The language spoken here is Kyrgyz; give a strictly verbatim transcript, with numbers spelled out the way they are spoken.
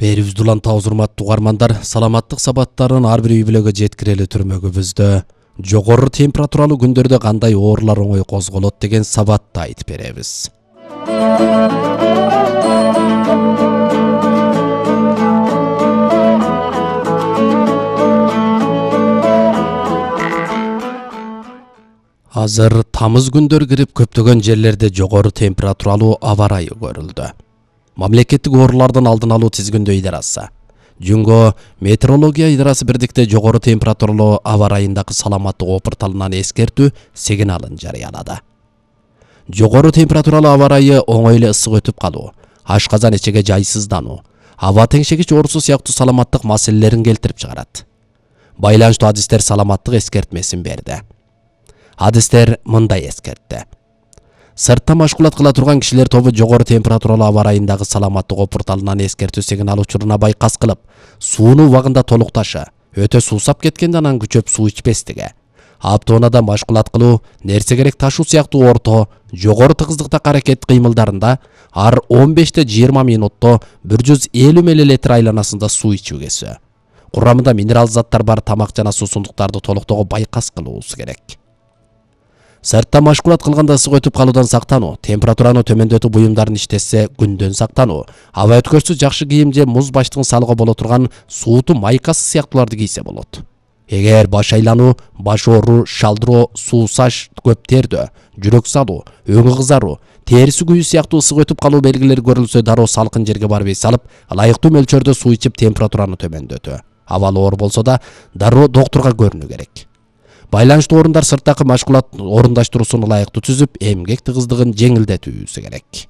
Берибизди улантабыз, урматтуу угармандар. Саламаттык сабаттарын ар бир үй бүлөгө жеткирели түрмөгүбүздө жогору температуралуу күндөрдө кандай оорулар оңой козголот деген сабатты айтып беребиз. Азыр тамыз күндөр кирип көптөгөн жерлерде жогору температуралуу аба ырайы көрүлдү. Мамлекеттик оорулардын алдын алуу тизгиндөө идарасы Жүнгө метеорология идарасы бирдикте жогору температуралуу аба ырайындагы саламаттык порталынан эскертүү сигналын жарыялады. Жогору температуралуу аба ырайы оңой эле ысык өтүп калуу, ашказан ичеге жайсыздануу, аба теңшегич оорусу сыяктуу саламаттык маселелерин келтирип чыгарат. Байланыштуу адистер саламаттык эскертмесин берди. Адистер мындай эскертти. Сыртта машгулат кыла турган кишилер тобу жогору температуралуу аба ырайындагы саламаттык порталынан эскертүү сигнал учуруна байкас кылып, сууну убагында толукташы, өтө суусап кеткенде анан күчөп суу ичпестиги, аптоонада машгулат кылуу, нерсе керек ташуу сыяктуу орто, жогору тыгыздыктагы аракет кыймылдарында ар он беште жыйырма минутто бир жүз элүү миллилитр айланасында суу ичүү кесүү, курамында минерал заттар бар тамак жана суусундуктарды толуктоого байкас кылуусу керек. Сыртта машгулат кылганда ысык өтүп калуудан сактануу, температураны төмөндөтүү буюмдарын иштесе күндөн сактануу, аба өткөрсү жакшы кийим же муз баштын салгы боло турган сууту майкасы сыяктууларды кийсе болот. Эгер баш айлануу, баш ооруу, шалдыроо, суусаш, көп тердөө, жүрөк салуу, өңү кызаруу, териси күйүү сыяктуу ысык өтүп калуу белгилери көрүлсө дароо салкын жерге барып эс алып, ылайыктуу мөлчөрдө суу ичип температураны төмөндөтүү. Абалы оор болсо да дароо доктурга көрүнүү керек. Байланыштуу орундар сырттагы машгулат орундаштыруусун ылайыктуу түзүп, эмгек тыгыздыгын жеңилдетүүсү керек.